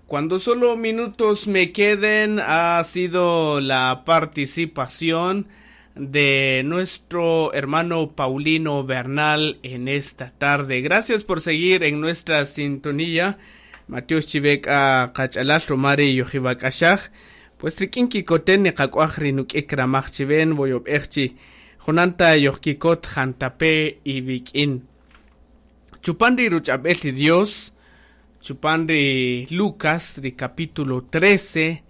Cuando solo minutos me queden, ha sido la participación de nuestro hermano Paulino Bernal en esta tarde. Gracias por seguir en nuestra sintonía. Mateus Chivek a Kachalal Romari Yohibakashaj. Pues rikin kikoten ni kakwaj rinuk'ik ramaj chiven voyob'ejchi. Jonanta yohkikot jantape y vikin. Chupan ri ruch'ab'el Dios, chupan ri Lucas, ri capítulo 13,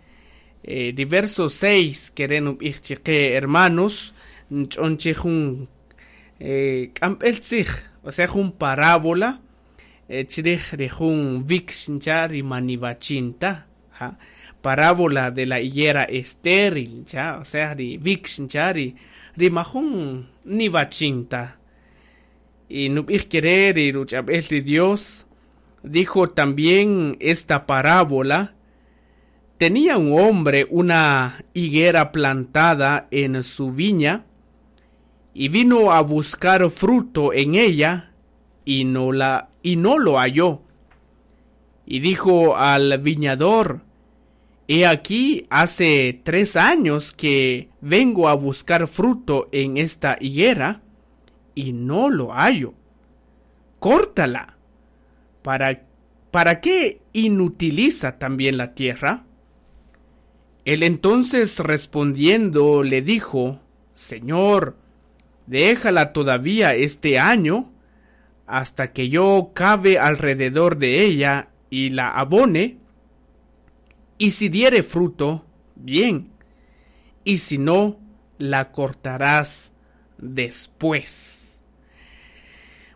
ri verso 6, keren ub'ij chiqe hermanos, nch'onchi jun k'amb'el tzij, o sea, jun parábola, chrij ri jun wix ncha ri manivachinta, ja, parábola de la higuera estéril, ncha, o sea, ri wix ncha ri majun nivachinta. Y nub'ij kere ri ruch'ab'el ri Dios, dijo también esta parábola: tenía un hombre una higuera plantada en su viña, y vino a buscar fruto en ella, y no lo halló. Y dijo al viñador: he aquí hace 3 años que vengo a buscar fruto en esta higuera, y no lo hallo. Córtala. ¿Para qué inutiliza también la tierra? Él entonces respondiendo le dijo: Señor, déjala todavía este año, hasta que yo cave alrededor de ella y la abone, y si diere fruto, bien, y si no, la cortarás después.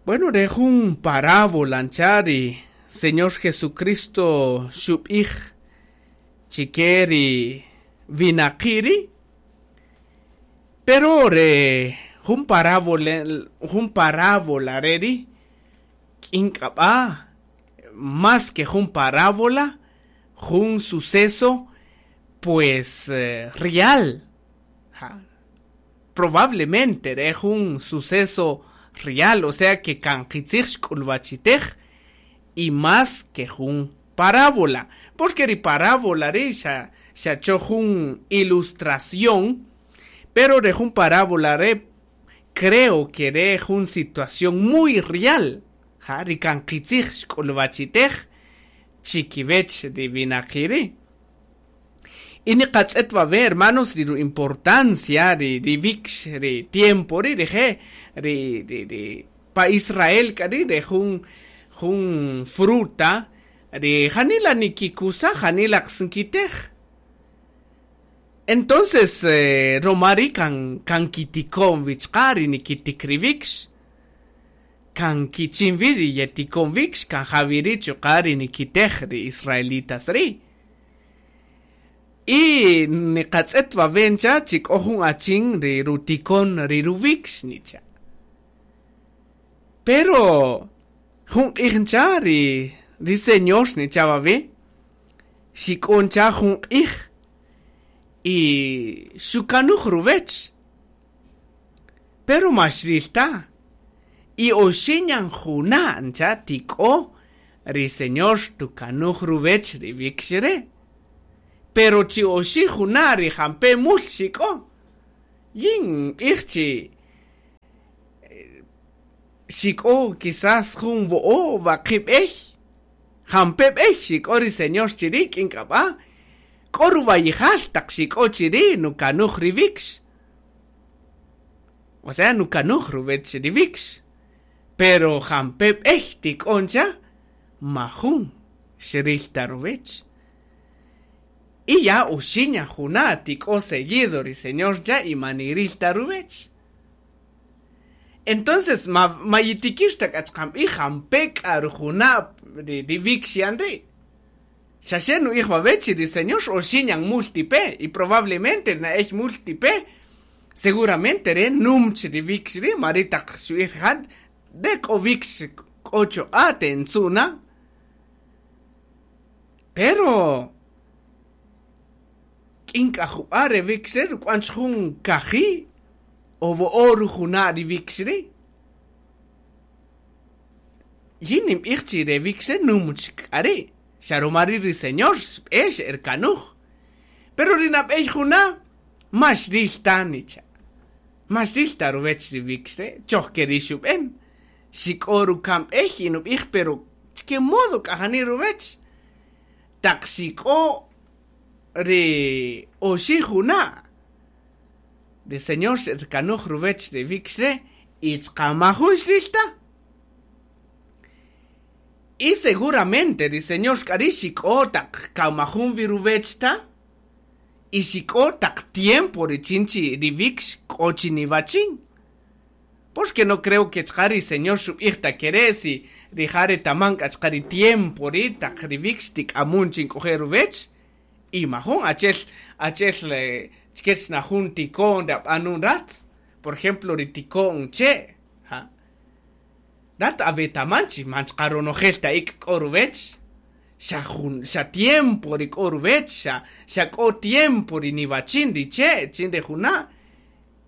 Bueno, dejo un parábola, nchari, Señor Jesucristo xub'ij chikeri vinaqiri, pero re jun parábola reri k'ink'ab'a, más que jun parábola, jun suceso pues real. Ja. Probablemente re jun suceso real, o sea que kan qitzij xk'ulwachitej, y más que jun parábola, porque ri parábola ri xa cho jun ilustración, pero re jun parábola re creo que re jun situación muy real, ja, ri kan qitzij xk'ulwachitej chikiwech ri winaqiri. Y ni qatz'et wawe, hermanos, ri importancia ri wix ri tiempo ri rije ri pa Israel k'ari re jun fruta ri janila nikikusa janila qsinkitej. Entonces romari kan kitikon wichqa ri nikitik ri wix, kan kichin wi ri yetikon wix, kan jawiri chuqa ri nikitej ri israelitas ri. Y niqatz'et wawencha chik k'o jun achin ri rutikon ri ruwix nicha. Pero jun q'ij ncha ri Señor nicha wawe, xik'oncha jun q'ij y xukanuj ruwech, pero maxrilta. Y oxiñan juna ncha tik'o ri Señor tukanuj ruwech ri wix re. Pero chi oxi juna ri jampe mul xik'o, yin q'ij chi xik'o quizás jun wo'o waqib' jampe b'ey xik'o ri Señor chiri k'ink'ab'a, k'o ruwayijal taq xik'o chiri nukanuj ri wix. O sea, nukanuj ruwech ri wix. Pero jampe b'ey tik'oncha majun xrilta ruwech. Y ya oxiña juna tik'o seguido ri Señor ya y manirilta ruwech. Entonces, mayitikixta k'achqamb'ij jampe k'a rujuna ri wix yan ri. Xaxe nu'ij wawechi ri Señor oxiñan multipe, y probablemente na'ej multipe, seguramente re numch ri wix ri, maritaq xu'ij jan, de k'o wix k'o choq'a tentzuna. Pero k'ink'a jub'a re wix re ruk'wan jun kaji o wo'o rujuna ri wix ri. Yin ninb'ij chi re wix re numch k'a ri. Xa ruma ri' ri Señor xb'e xe'erkanuj. Pero ri nab'ey juna' ma xrïl ta nicha'. Ma xrïl ta ruwäch ri wïkx re', choj ke ri' xub'än. Xik'o ruka'n b'ey y nub'ij pero chke modo k'a jani ruwäch. Taq xik'o ri oxi' juna', ri Señor xe'erkanuj ruwäch ri wïkx re' y chqa majun xrïl ta. Y seguramente ri Señor k'a ri' xik'o taq kan majun wi ruwech ta, y xik'o taq tiempo richin chi ri wïkx k'o chi niwachin. Porque no creo que chqa ri Señor xub'ij ta ke re' si rija' retaman k'a chqa ri tiempo ri' taq ri wïkx tik'amun chi nk'oje' ruwech, y majun achi'el achi'el chkech na jun tiko'n ri ab'anun rat, por ejemplo ri tiko'n che', ja. Rat awetaman chi man chqa ronojel ta ik' k'o ruwech, xa jun xa tiempo ri k'o ruwech, xa xa k'o tiempo ri niwachin ri che' chin ri juna',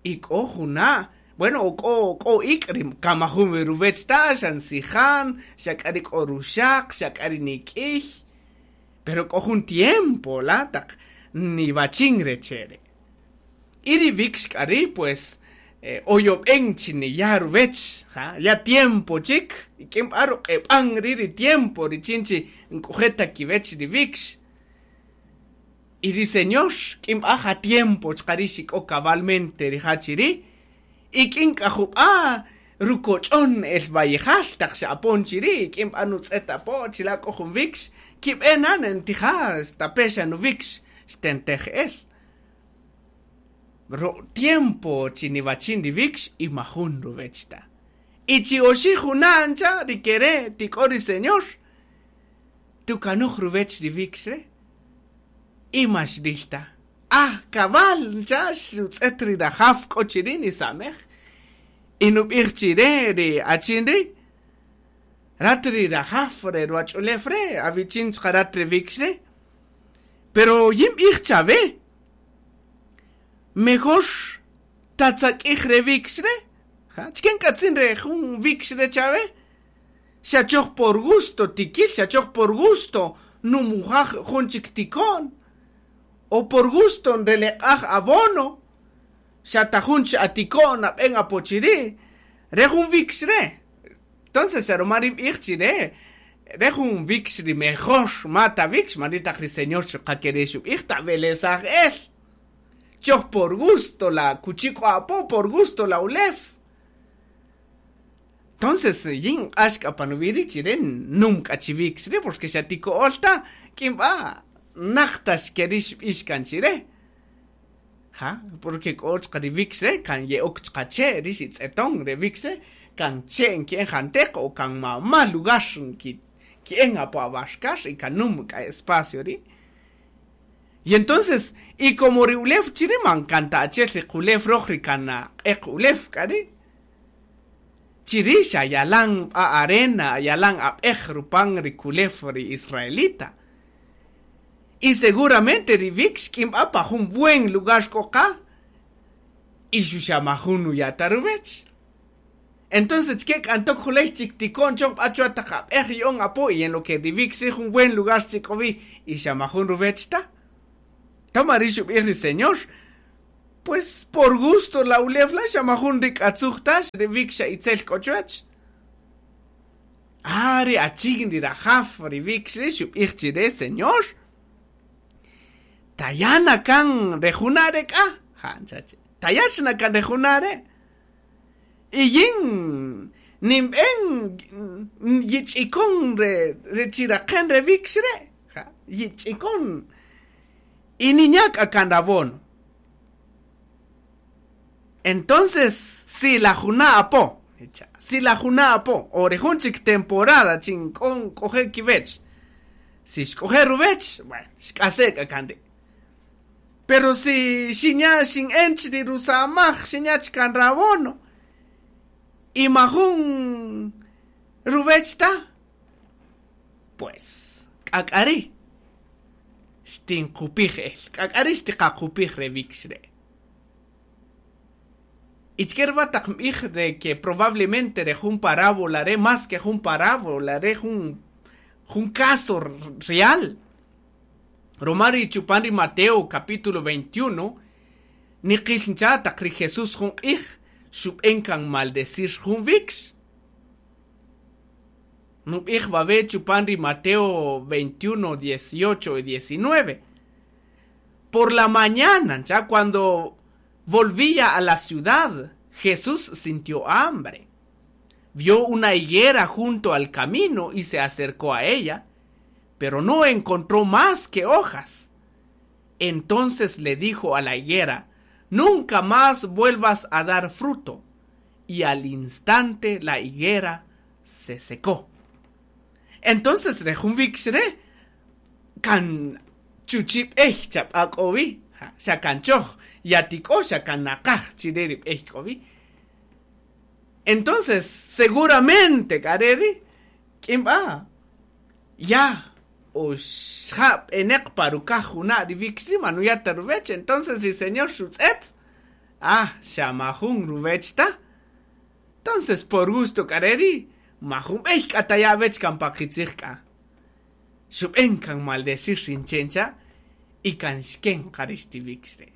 y k'o juna' bueno o k'o k'o ik' ri kan majun wi ruwech ta, xa nsijan, xa k'a ri k'o ruxaq, xa k'a ri nik'iy, pero k'o jun tiempo la taq niwachin re che' re'. Y ri wïkx k'a ri' pues oyob'en chi niya' ruwech, ja, ya tiempo chik, rik'in b'a' ruq'eb'an ri' ri tiempo richin chi nk'oje' ta kiwech ri wïkx. Y ri Señor k'in b'a' ja tiempo chuqa' ri' xik'o cabalmente rija' chi ri', y k'in k'a jub'a' rukoch'on el wayijal taq xe'apon chi ri', k'in b'a' nutz'et apo chila' k'o jun wïkx, kib'e na nentija' stape' xa nuwïkx xtentej el. Ro tiempo chi niwachin ri wïkx y majun ruwech ta. Y chi oxi' juna' ncha' ri ke re' tik'o ri Señor, tukanuj ruwech ri wïkx re' y ma xrïl ta. Ah, cabal ncha' xutz'ët ri rajaw k'o chi ri' nisamej y nub'ij chi re ri achin ri', Rat ri rajaw re ruwach'ulew re', awichin chuqa' rat re wïkx re'. Pero yin b'ij chawe, mejor tatzak'ij re wïkx re', ja, chike nk'atzin re jun wïkx re' chawe? Xa choj por gusto tikil, xa choj por gusto numujaj jun chik tiko'n, o por gusto nreleq'aj abono, xa ta jun chi atiko'n nab'en apo chi ri', re jun wïkx re'. Entonces xa ruma ri nb'ij chi re, re jun wïkx ri mejor ma ta wïkx, man ri' taq ri Señor chuqa' ke ri' xub'ij, tawelesaj el. Choj por gusto la akuchi k'o apo, por gusto la ulew. Entonces yin nq'ax k'a pa nuwi' ri' chi re nüm k'a chi wïkx ri' porque xa ti ko'öl ta, k'in b'a' näj ta ke ri' xb'ix kan chi re. Ja, porque k'o chqa ri wïkx re' kan ye'ok chqa che' ri xitz'eton re wïkx re' kan che' nki'en janteq o kan mama lugar nki'en apo abarcar y kan nüm k'a espacio ri'. Y entonces, y como ri ulew chi ri' man kan ta achi'el ri qulew röj ri kan q'eq ulew k'a ri', chi ri' xa yalan b'a arena, yalan ab'ej rupan ri kulew ri israelita. Y seguramente ri wïkx k'in b'a pa jun buen lugar k'o qa y xuxa majun nuya' ta ruwech. Entonces chike k'a ntok juley chik tiko'n choj b'a chwa taq ab'ej ya'on apo y en lo que ri wïkx ri' jun buen lugar chik k'o wi y xa majun ruwech ta. Toma ri' xub'ij ri Señor, pues por gusto la ulew la' xa majun rik'atzuj ta, ri wïkx xa itzel k'o chwech. Ah, ri achin ri rajaw ri wïkx ri' xub'ij chi re, Señor, taya' na kan re juna' re' k'a, ja, ncha' che, taya' chi na kan re juna' re'. Y yin ninb'en yich'ikon re re chiraqen re wïkx re', ja, yich'ikon y ninya' k'a kan rabono. Entonces, si la juna' apo, si la juna' apo, o ri jun chik temporada chin k'o nk'oje' kiwech, si xk'oje' ruwech, bueno, xk'ase' k'a kan ri'. Pero si xinya' xin'en chi ri rusamaj, xinya' chik kan rabono, y majun ruwech ta, pues, k'a k'a ri' xtinqupij el, k'a k'a ri' xtiqaqupij re wïkx re'. Y chike ruma taq nb'ij de que probablemente re jun parábola re' más que jun parábola re' jun Jun caso real. Roma ri chupan ri Mateo capítulo 21, niqil ncha taq ri Jesús jun q'ij xub'en kan maldecir jun wíkx. Nub'ij wawe' chupan ri Mateo 21, 18 y 19. Por la mañana, ya cuando volvía a la ciudad, Jesús sintió hambre. Vio una higuera junto al camino y se acercó a ella, pero no encontró más que hojas. Entonces le dijo a la higuera: "Nunca más vuelvas a dar fruto". Y al instante la higuera se secó. Entonces re jun wíkx re' kan chuchi' b'ey chaq'a' k'o wi, xa kan choj yatik'o xa kan naqaj chire ri b'ey k'o wi. Entonces seguramente k'a re ri' k'in b'a' ya oxja' b'eneq pa rukaj juna' ri wíkx ri' man nuya' ta ruwech, entonces ri Señor xutz'et, ah, xa majun ruwech ta. Entonces por gusto k'a re ri' majun b'ey k'a taya' awech kan pa qitzij k'a. Xub'en kan maldecir ri nche' ncha' y kan xken qa ri xti wíkx re'.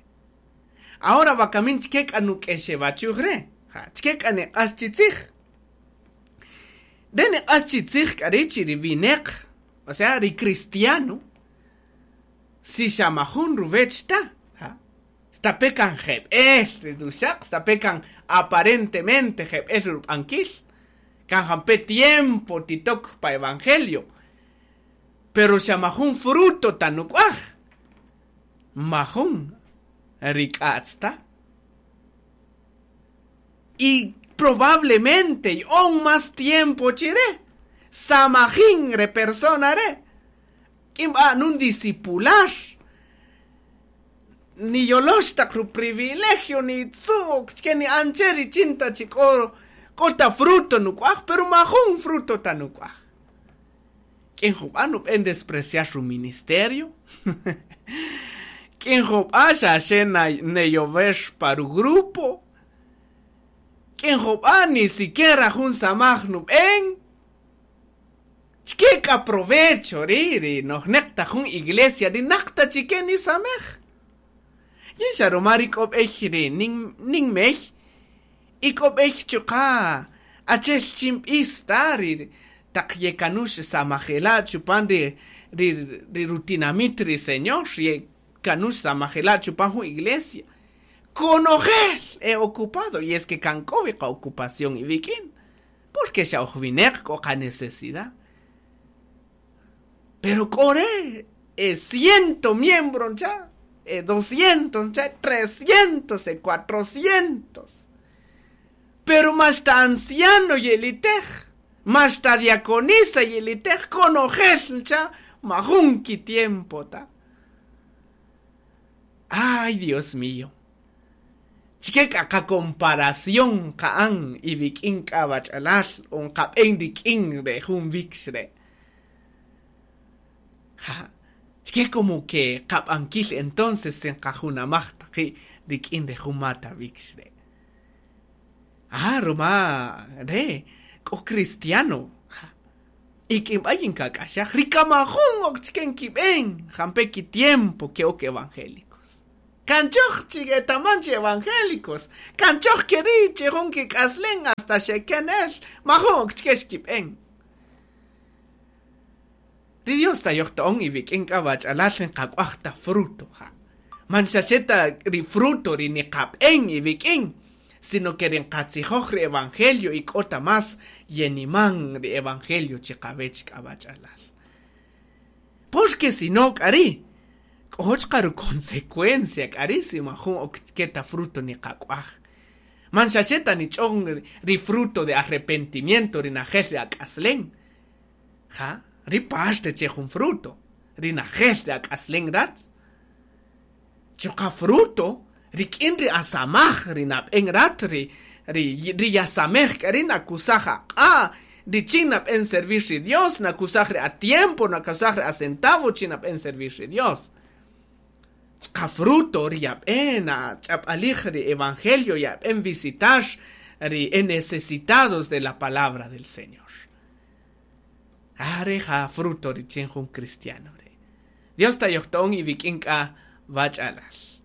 Ahora wakamin chike k'a nuk'exewachuj re', ja, chike k'a neq'ax chi tzij. Re neq'ax chi tzij k'a ri' chi ri wineq, o sea ri cristiano, si xa majun ruwech ta, ja, stape' kan jeb'el ri ruxaq, stape' kan aparentemente jeb'el ri rub'ankil, kan jampe' tiempo titok pa evangelio, pero xa majun fruto ta nuk'waj, majun rik'a'tz ta. Y probablemente y'on más tiempo chire, samajin re persona re', k'in b'a' nun discipular, niyolox taq ruprivilegio nitzu'k chike ni'an che richin ta chi k'o k'o ta fruto nuk'waj, pero majun fruto ta nuk'waj. K'in jub'a' nub'en despreciar ruministerio, k'in jub'a' xa xe neyowex pa rugrupo, k'in jub'a' ni siquiera jun samaj nub'en. Chike k'a provecho ri' ri nojneq ta jun iglesia ri naq ta chike nisamej. Yin xa ruma ri k'o b'ey ri ninmey y k'o b'ey chuqa' achel chin b'is ta ri taq yekanux samajela' chupan ri ri rutinamit ri Señor, yekanux samajela' chupan jun iglesia. Konojel e ocupado y es que kan k'o wi qa ocupación iwik'in, porque xa oj wineq k'o qa necesidad. Pero k'o re' e ciento miembro ncha, e 200 ncha, 300, e 400. Pero maxta anciano yelitej, maxta diaconisa yelitej, konojel ncha, majun kitiempo ta. Ay, Dios mío. Chike k'a qa comparación qa'an iwik'in k'a wach'alal o nqab'en rik'in re jun wíkx re'. Ja, chike como que qab'ankil entonces nqajunamaj ta qi' rik'in re jun mata wíkx re'. Ah, ruma re' k'o cristiano, ja, y k'in b'a' yinkak'axaj ri kamajun ok chike nkib'en jampe' kitiempo ke'ok evangélicos. Kan choj chi etaman chi evangélicos, kan choj keri' chi jun kik'aslen hasta xeken el, majun ok chike xkib'en. Ri Dios tayojto'on iwik'in k'a wach'alal nqak'waj ta fruto, ja. Man xa xe ta ri fruto ri niqab'en iwik'in, sino que ri nqatzijoj ri evangelio y k'o ta más yeniman ri evangelio chiqawech k'a wach'alal. Porque si no k'a ri' k'o chqa ruconsecuencia k'a ri' si majun ok chike ta fruto niqak'waj. Man xa xe ta nich'on ri fruto de arrepentimiento ri najel ri ak'aslen. Ja, ri parte che jun fruto, ri najel ri ak'aslen rat. Chuqa fruto rik'in ri asamaj ri nab'en rat ri ri ri yasamej k'a ri' nakusaj aq'a' richin nab'en servir ri Dios, nakusaj ri atiempo, nakusaj ri acentavo chin nab'en servir ri Dios. Chqa fruto ri yab'en ach'ab'alij ri evangelio yab'en visitar ri e necesitados de la palabra del Señor. Are ja fruto richin jun cristiano re. Dios ta yohton y vikinka bachalal.